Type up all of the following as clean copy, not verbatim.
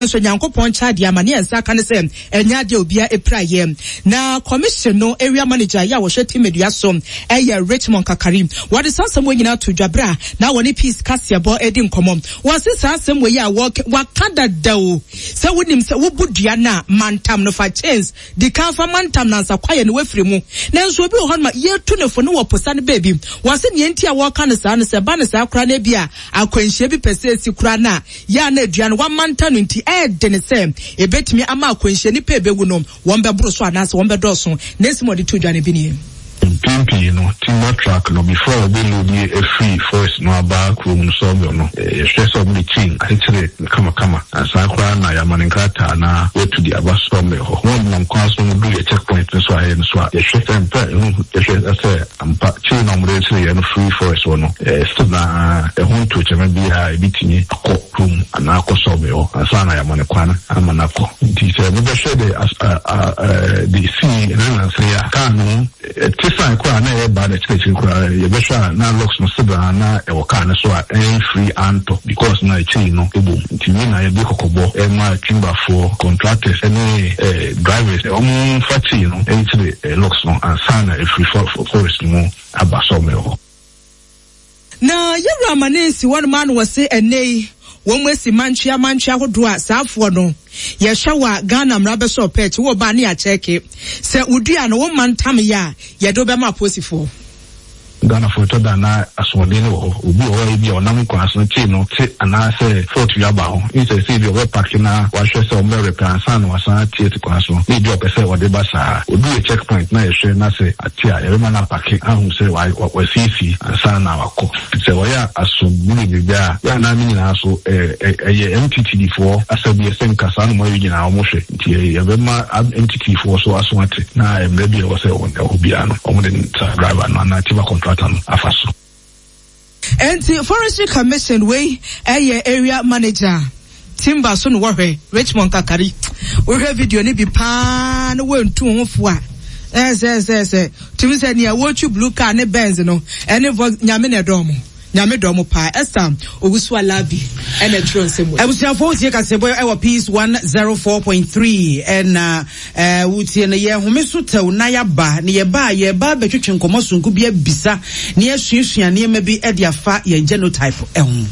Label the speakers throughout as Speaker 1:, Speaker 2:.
Speaker 1: Nanso Nyankopɔn nkyɛ adeɛ ama ne yɛn nsa aka ne sɛ ɛnyɛ adeɛ a obiara pira yɛ. Na Commission no Area Manager yɛ a wɔhwɛ Tembedua so yɛ Richmond Kakari. Wɔde saa asɛm wei nyinaa too dwa berɛ a na wɔne Peace Kaseɛbɔ redi nkɔmmɔ. Wɔse saa asɛm wei a wɔka, wɔaka dada o, sɛ wonim sɛ wobu dua no a, mantam no fa chains, di kan fa mantam no ansa kwaeɛ no woafiri mu. Nanso obi wɔ hɔnom a yɛtu no fo no wɔ posa no baabi. Wɔse nea enti a wɔka no saa no sɛ ɛba no saa koraa no ebia akwanhyia bi pɛ sɛ esi koraa no a, yɛ a na dua no wɔamanta no nti ɛyɛ den sɛ ebetumi ama akwanhyia, nnipa a ebewu no wɔbɛboro so anaasɛ wɔbɛdɔɔso. Ne nsɛm a ɔde too dwa no bi nie.
Speaker 2: Mpɛn pii no, timber truck no, before wɔbɛ load afiri forest no aba kurom no sawmill no, yɛhwɛ sɛ wɔde chain akyekyere no kamakama ansa koraa na yɛama no nkrataa na watu de aba sawmill hɔ. Wɔn nam kwan so no duru yɛ check point no so a ɛyɛ no so a, yɛhwɛ sɛ mpɛ ɛho yɛhwɛ sɛ ampa chain a wɔde kyekyere yɛ no firi forest hɔ no, still na ɛho ntokyɛma biara ebetumi akɔ kurom anaa akɔ sawmill hɔ ansa na yɛama no kwan ama no akɔ. Nti sɛ mobɛhwɛ de as a a de sii ɛna nansa yi a, kaa no te sign koraa na ɛreba na akyiriakyiri koraa yɛbɛhwɛ a na locks no sebra na ɛwɔ kaa no so a ɛnfiri antɔ because na akyiri no ɛbom. Nti wei na yɛde kɔkɔbɔ ɛma timberfoɔ, contractors ɛne drivers wɔn mfa kyii no nkyere locks no ansa na ɛfiri forest no mu aba sawmill hɔ.
Speaker 1: Na yɛwura amane nsi hɔnom a na wɔse ɛnnɛ yi wɔn asi mantwea mantwea ahodoɔ a saa afoɔ no yɛhwɛ wo a Ghana mmara bɛsɔ ɔpɛ akyi wo ba ne yɛakyɛke sɛ wo dua no wo mma ntam yɛ a yɛde wo bɛma aposifoɔ.
Speaker 2: Ghanafoɔ ɛtɔ da a na asoɔden no wɔ hɔ. Obi wɔ hɔ a ebia ɔnam kwan so no kyee no te anaasɛ fault bi aba ho. Instead sɛ ebia ɔbɛpake na wahwɛ sɛ wɔbɛ repair ansa na wasan ate asi kwan so no, na ebia ɔpɛ sɛ ɔde ba saa. Ɔduru yɛ check point na yɛhwɛ na sɛ ate a, yɛbɛma no apake ahu sɛ wasiesie ansa na wakɔ. Sɛ wɔyɛ asomdwoe bebrebe a, yɛ a na ne nyinaa so ɛyɛ MTTD foɔ asɛdeɛ sɛ nka saa nnoɔma wei nyinaa wɔhwɛ. Nti yɛbɛma MTTD foɔ so aso ate na mmerɛ bi a ɛwɔ sɛ ɛwɔ biara no wɔde saa driver no anaa timber contractor no afa so.
Speaker 1: Enti Forestry Commission wei ɛyɛ area manager Timber so na wɔhwɛ Richmond Kakari. Wohwɛ video no bi paa na wɔntu ho fo a ɛsɛsɛsɛ tumi sɛ nea wɔtwi blue car ne Benz no ɛne Vox nyame na ɛdɔɔ mo. Nyame dɔ mo paa. Esther Owusu Alabi ɛna ɛtwerɛ nsɛm wei.
Speaker 3: Abusuafoɔ wotie kasɛbɔ ɛwɔ Peace 104.3 ɛna ɛɛ wotie no yɛ home so tɛw na yaba na yɛba a yɛba abɛtwetwe nkɔmɔ sonko bi abisa na yɛasuasua nneɛma bi ɛde afa yɛn genotype ɛho.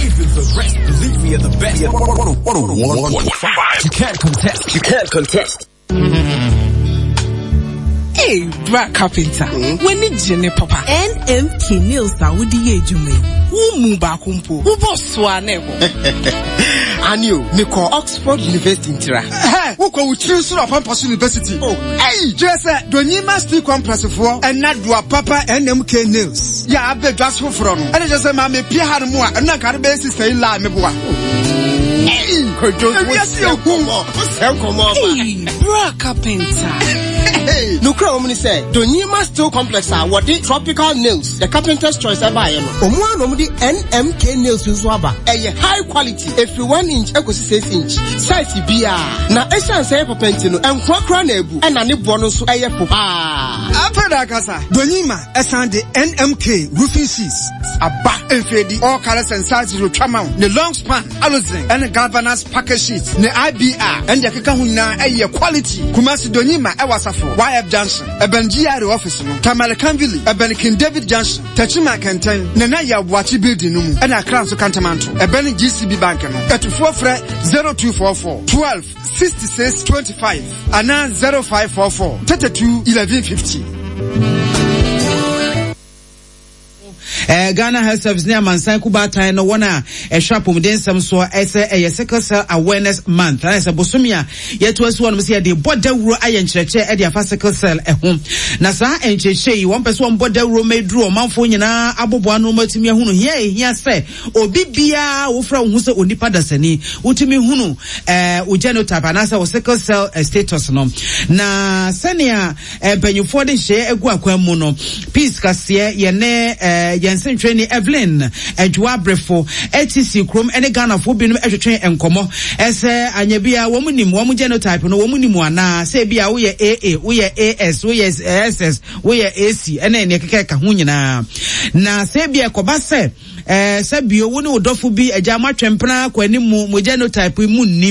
Speaker 4: Even the rest believe we are the best. 101.5. You can't contest. You can't contest.
Speaker 5: Hey, bra carpenter. Mm? W'ani gye ne papa. NMK nails a wode yɛ adwuma yi. Wo mu baako mpo. Wobɔ so a na ɛbɔ.
Speaker 6: Ani o, mekɔ Oxford University ntira.
Speaker 7: Hɛ, wokɔ wo tiri so na ɔpampa so university. Oh, ɛyi, kyerɛ sɛ Donyima Steel Complex foɔ ɛna doa papa NMK nails. Yɛ abɛdwa so foforɔ no. Ɛna kyerɛ sɛ maame pie ha no mu a, ɛno na nka de bɛyɛ sista yi laa meboa.
Speaker 6: Kojo, wosɛ nkɔmmɔ ɔba.
Speaker 5: Bra carpenter.
Speaker 6: Nokura wɔm ne sɛ, Donyima Steel Complex a wɔde tropical nails, the carpenter's choice ɛbaeɛ no, ɔmo ara na wɔde NMK nails nso aba. Ɛyɛ high quality, ɛfiri 1 inch ɛkɔsi 6 inch, size biara. Na ɛsiane sɛ ɛyɛ papa nti no, ɛnkoa koraa na abu, ɛna ne boɔ no nso ɛyɛ fo paa.
Speaker 7: Afei da akasa, Donyima ɛsan de NMK roofing sheets aba. Mfeedi, all colors and sizes otwa ma wo, ne long span. Aluzen ɛne Galvanized Package Sheets ne IBR ɛne deɛ ɛkeka ho nyinaa ɛyɛ quality. Kumasi Donyima ɛwɔ Asafo YF Junction ɛbɛn GRA office no, Tamale Kanvili ɛbɛn King David Junction, Techiman Kɛntɛn, Nana Yaw Boakye Building no mu ɛna Accra nso Kantamanto ɛbɛn GCB Bank no. Atufoɔ frɛ 0244 12 66 25 anaa 0544 32 11 50.
Speaker 3: Eh, Ghana Health Service ne Amansan Kubaatan no wɔn a ɛhwɛ apɔmuden nsɛm soɔ ɛsɛ ɛyɛ Sickle Cell Awareness Month ɛna sɛ bosome a yɛto asi hɔ nom sɛ yɛde bɔ dawuro ayɛ nkyerɛkyerɛ ɛde afa sickle cell ɛho na saa nkyerɛkyerɛ yi wɔn pɛ sɛ wɔn bɔ dawuro ma eduru ɔmanfoɔ nyinaa aboboa ano ma atumi ahunu hia ehia sɛ obi biara wofra wo ho sɛ onipa dasani wotumi hunu ɛɛ wo genotype anaasɛ wo sickle cell eh, status no na sɛnea Mpanyinfoɔ de nhyehyɛeɛ agu akwan mu no, Peace kaseɛ yɛne yɛn sentwerɛni Evelyn Adwoa Abrefo te kurom ne Ghanafoɔ binom twetwe nkɔmmɔ sɛ anyɛ bi a wɔn nim wɔn genotype no wɔn nim anaa sɛ ebi a woyɛ AA, woyɛ AS, woyɛ SS, woyɛ AC ɛne nea ɛkeka ɛka ho nyinaa. Na sɛ ebi a ɛkɔba sɛ sɛ bio wo ne wo dɔfo bi agya mo atwempena kɔ anim mo genotype mu nnim.